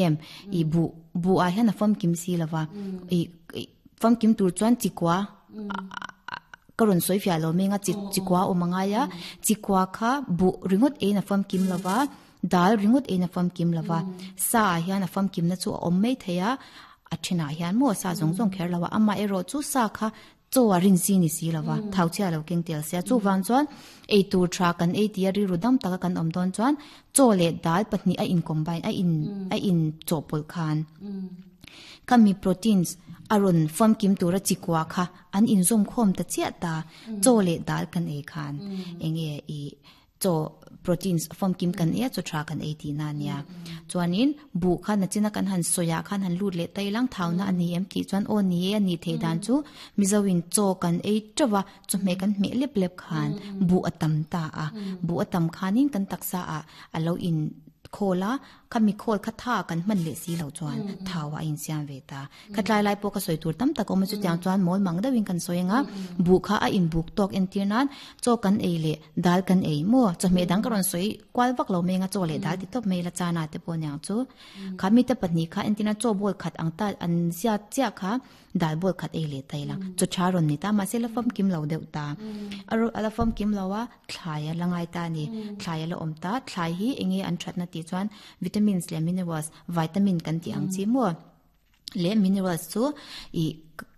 Em, i buh, buh ah hian a famkim si lova, i famkim tur chuan chikua ka rawn sawi fiah lo meng a, chi chikua awm a ngai a, chikua kha buh ringawt eiin a famkim lova, dal ringawt eiin a famkim lova, sa ah hian a famkimna chu a awm mai thei a, a thenah hian maw sa zawng zawng kher lo a, amaherawh chu sa kha Chaw a rin si ni si lova, thau chhia lo keng tel sia. Chuvang chuan ei tur tha kan ei tia rilru dam taka kan awm dawn chuan chaw leh dal pahnih a in combine a in a in chawhpawlh khan khami proteins a rawn famkim tura chikua kha an inzawm khawm ta chiah ta. Chaw leh dal kan ei khan enge ih Chaw proteins famkim kan ei a, chaw tha kan ei tihna a nia. Chuanin buh kha nachina kan han sawi ah khan han lut leh ta ilang thauna a ni em tih chuan aw ni e a nih theih dan chu Mizoin chaw kan ei teuh a, chawhmeh kan hmeh lep lep khan buh a tam ta a, buh a tam khanin kan taksa ah a lo in khawl a, khami khawl kha tha kan hman leh si loh chuan thau ah a insiam ve ta. Kha tlai lai pawh ka sawi tur tam tak a awm a, chutiang chuan mawl mang deuhin kan sawi ang a, buh kha a inbuk tawk entir nan chaw kan ei leh dal kan ei maw? Chawhmeh dang ka rawn sawi kual vak lo meng a, chaw leh dal ti tawp mai la chana te pawh aniang chu. Kha mite pahnih kha entir nan chaw bowl khat ang ta an ziat chiah kha dal bowl khat ei leh ta ila chaw tha rawn ni ta mahse la famkim lo deuh ta. A la famkim lo a, thlai a la ngai ta a ni. Thlai a la awm ta, thlai hi eng nge an thatna tih chuan vitamins leh minerals, vitamin kan tih ang chi maw? Leh minerals chu ih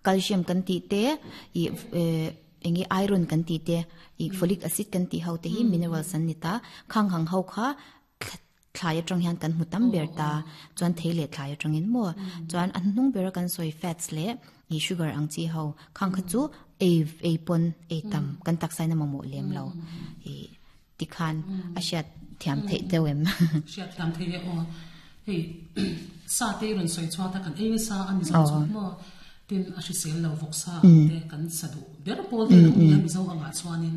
calcium kan tih te ih eh eng nge iron kan tih te ih folic acid kan tih ho te hi minerals an ni ta khang hang ho kha thlai atang hian kan hmu tam ber ta chuan thei leh thlai atangin maw chuan a hnuhnung bera kan sawi fats leh ih sugar ang chi ho khang kha chu ei ei pawn ei tam kan taksa in a mamawh lem lo ih. Tikhan a hriat thiam theih deuh em? Hriat thiam theih e aw. Hei sa te i rawn sawi chhuat a kan ei nasa a Mizo chu maw tin a hrisel lo vawk sa ang te kan sa duh ber pawl te lo nia Mizo angah chuanin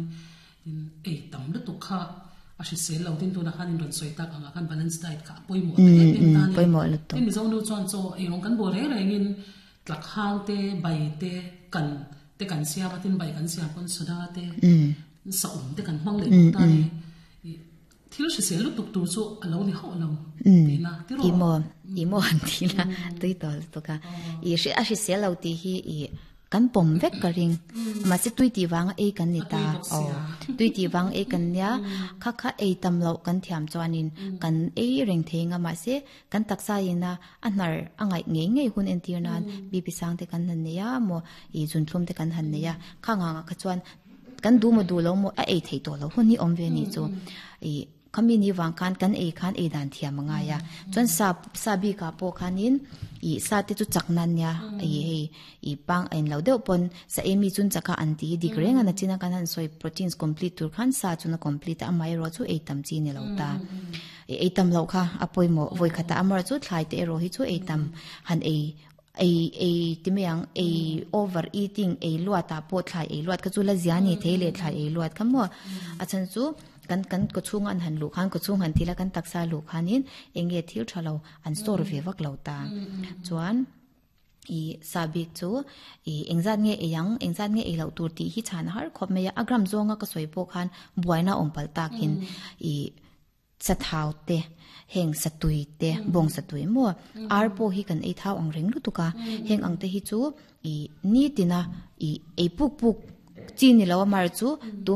tin ei tam lutuk kha a hrisel lo tin tunah khan in rawn sawi tak angah khan balance diet kha a pawimawh ta em em ta a ni. Tin Mizo nu chuan chaw ei rawng kan bawl reng rengin tlak hang te bai te kan te kan siam a tin bai kan siam pawn soda te Saum te kan hmang leh bawk ta ni. Thil hrisel lutuk tur chu a lo ni hauh lo tihna ti rawh. Ih maw, ih maw han ti la, tui tawh lutuk a. Ih a hrisel lo tih hi ih kan pawm vek ka ring. Mahse tui tih vanga ei kan ni ta. Aw, tui tih vang ei kan nia. Kha kha ei tam loh kan thiam chuanin kan ei reng thei ang a, mahse kan taksa ina a hnar a ngaih ngei ngei hun entir nan BP sang te kan han nei a maw, ih zunthlum te kan han nei a. Khang angah kha chuan Kan duh maw duh lo maw a ei theih tawh loh hun hi awm ve nih chu. Ih khami ni vang khan kan ei khan ei dan thiam a ngai a. Chuan sa sa bikah pawh khanin ih sa te chu chak nan nia ih hei ih pang a inlo deuh pawn sa ei mi chun chak a an tih hi dik reng a nachina kan han sawi proteins complete tur khan sa chun a complete a amaherawh chu ei tam chi ni lo ta. Ih ei tam loh kha a pawimawh vawikhatah amaherawh chu thlai te erawh hi chu ei tam han ei Ei ei ti mai ang, ei over eating, ei luat ah pawh thlai ei luat kha chu la zia ni thei leh thlai ei luat kha maw. A chhan chu kan kan kawchhunga an han luh khan kawchhung han thil a kan taksa luh khanin eng nge thil tha lo an store ve vak lo ta. Chuan i sa bik chu i engzat nge ei ang, engzat nge ei loh tur tih hi chhan a har khawp mai a, a gram zawnga ka sawi pawh khan buaina awm palh takin i Sathau te, heng satui te, bawng satui maw, ar pawh hi kan ei thau ang reng lutuk a, heng ang te hi chu ih nitina ih ei puk puk chi ni lo a mar chu tu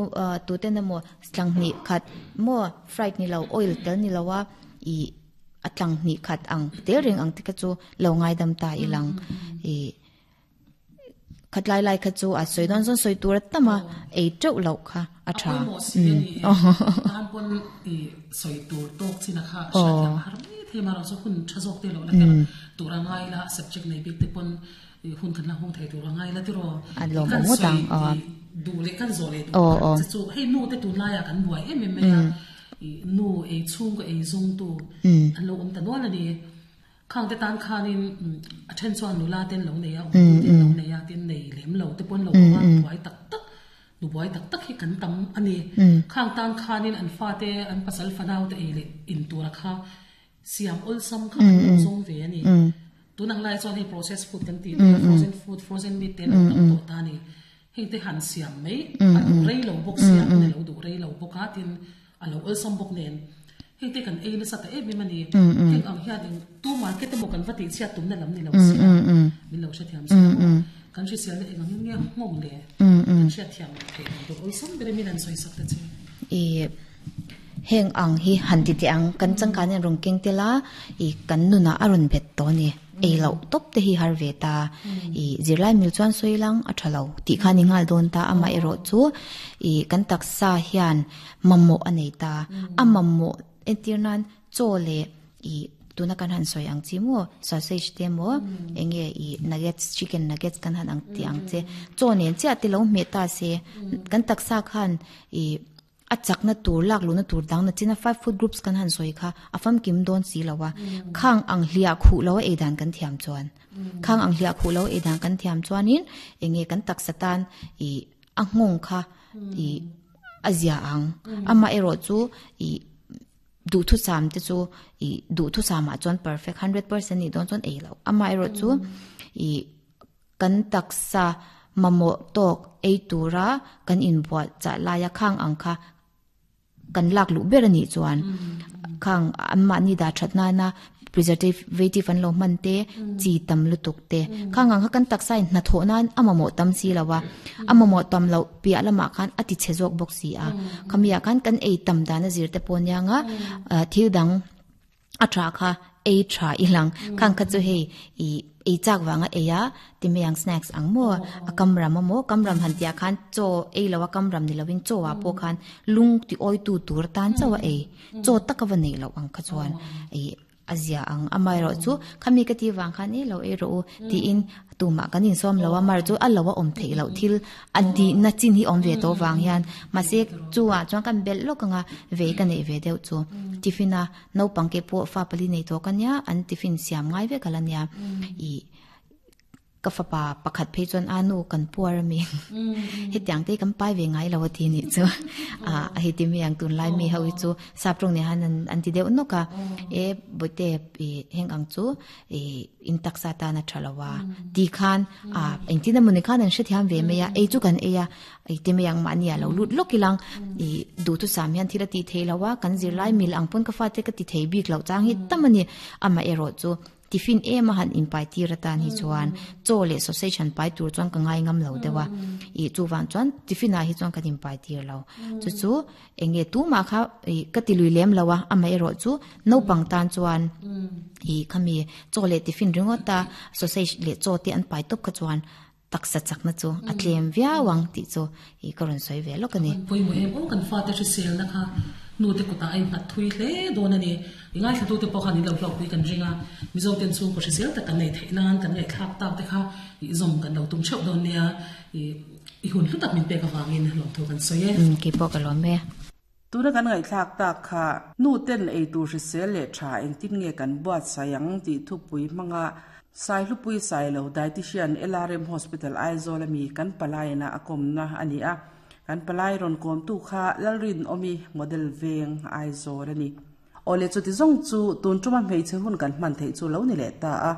tuten emaw tlang hnih khat maw fried ni lo oil tel ni lo a ih a tlang hnih khat ang tel reng ang te kha chu lo ngaidam ta ilang ih. Khatlai lai kha chu a sawi dawn chuan sawi tur a tam a, ei teuh loh kha a tha. A pawimawh si a ni e. Tan pawn i sawi tur tawk chin a kha hriat thiam a har mai thei marawh chu hun tha zawk te loh la kher tur a ngai la, subject nei bik te pawn hun kan la hung thei tur a ngai la tiraw. A lawm awm ngawt ang. Kan sawi duh leh kan zawh leh duh che chu hei nu te tunlaiah kan buai em em mai a, nu ei chhungkaw ei zungtu an lo awm ta nual a ni. Khang te tan khanin a then chuan nula ten lo nei a, awmtu ten lo nei a, tin nei lem lo te pawn lo awm a, buai tak tak, nu buai tak tak hi kan tam a ni. Khang tan khanin an fate, an pasal fanau te ei leh in tura kha siam awlsam kha an lo zawng ve a ni. Tun ang lai chuan hei process food kan tih te, frozen food, frozen meat te an lo tam tawh ta a ni. Heng te han siam mai a duh rei lo bawk sia, hun a lo duh rei lo bawk a, tin a lo awlsam bawk nen. Hei te kan ei nasa ta em em a ni. Heng ang hian eng tu market emaw kan va tih chhiat tumna lam ni lo sia, min lo hrethiam si lo maw? Kan hriselna eng angin nge nghawng le? Kan hriatthiam theih dan tur awlsam ber in min han sawi sak ta che. I heng ang hi han ti teh ang, kan changkan hian rawn keng tel a, i kan nunah a rawn bet tawh a ni. Ei loh tawp te hi har ve ta. I zirlai mil chuan sawi lang a tha lo tih kha a ni nghal dawn ta, amaherawh chu i kan taksa hian mamawh a nei ta. A mamawh entir nan chaw leh i tuna kan han sawi ang chi maw sausage te maw eng nge i nuggets chicken nuggets kan han ang tih ang che chaw nen chiah te lo hmeh ta se kan taksa khan i a chakna tur lak luhna tur dang na china five food groups kan han sawi kha a famkim dawn si lo a khang ang hliah khuh lo a ei dan kan thiam chuan khang ang hliah khuh lo a ei dan kan thiam chuanin eng nge kan taksa tan i a nghawng kha i a zia ang amah erawh chu i duhthusam te chu i duhthusam ah chuan perfect 100% nih dawn chuan ei loh amah erawh chu i kan taksa mamawh tawk ei tura kan inbuah chah laia khang ang kha kan lak luh ber a nih chuan khang anmahni dah that nana preservative an lo hman te chi tam lutuk te khang ang kha kan taksa in hnathawh nan a mamawh tam si lo a a mamawh tam loh piah lamah khan a ti chhe zawk bawk si a khami ah khan kan ei tam dan a zir te pawh aniang a thil dang a tha kha ei tha i lang khang kha chu hei i ei chak vanga ei a ti mai ang snacks ang maw a kam ram amaw kam ram han tih ah khan chaw ei lo a kam ram ni lovin chaw ah pawh khan lung ti awi tu tur atan chauh a ei chaw taka va neih loh ang kha chuan ih a zia ang amaherawh chu khami ka tih vang khan e lo ei rawh u tiin tumah kan insawm lo a mar chu a lo a awm theih loh thil a dihna chin hi awm ve tawh vang hian mahse chuah chuan kan belh lawk anga vei ka neih ve deuh chu tiffin a naupang ke pawh fa pali nei tawh ka nia an tiffin siam ngai vek ala nia ih Ka fapa pakhat phei chuan a nu kan puar a mi hetiang te kan pai ve ngai lo a ti nih chu a hei ti mi ang tunlai mi ho hi chu sap tawng nen han an ti deuh nawk a e bawihte i heng ang chu i in taksa tan a tha lo a ti khan a engtin emaw ni khan an hrethiam ve mai a ei chu kan ei a i ti mai ang mahni ah lo lut lawk ilang i duhthusam hian thil a tih theih lo a kan zirlai mil ang pawn ka fate ka ti thei bik loh chang hi tam a ni amaherawh chu Tiffin em a han inpai tir atan hi chuan chaw leh sausage han pai tur chuan ka ngai ngam lo deuh a. Ih chuvang chuan tiffin ah hi chuan kan inpai tir lo. Chu chu eng nge tumah kha ih ka ti lui lem lo a, amaherawh chu naupang tan chuan ih khami chaw leh tiffin ringawt a sausage leh chaw te an pai tawp kha chuan taksa chakna chu a tlem viau ang tih chu ih ka rawn sawi ve lawk a ni. Pawimawh em aw kan fate hriselna kha nu te kutah a innghat thui hle dawn a ni. I ngaithlatute pawh khan in lo hlawkpui kan ring a, Mizo ten chhungkaw hrisel tak kan neih theih nan kan ngaihthlak tak te kha ih zawm kan lo tum theuh dawn nia. Ih i hun hlu tak min pek avangin lawmthu kan sawi e. Umm keipawh ka lawm e. Tuna kan ngaihthlak tak kha nu ten ei tur hrisel leh tha engtin nge kan buatsaih ang tih thupui hmanga Saihlupui Sailo Dietitian LRM Hospital Aizawl ami kan palaiina a kawmna a ni a, kan palai rawn kawmtu kha Lalrinawmi Model Veng Aizawl a ni. Awle chuti zawng chu tun tuma hmeichhe hun kan hman theih chu lo ni leh ta a,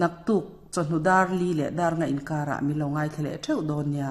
naktuk chawhnu dar li leh dar nga inkarah min lo ngaithla leh theuh dawn nia.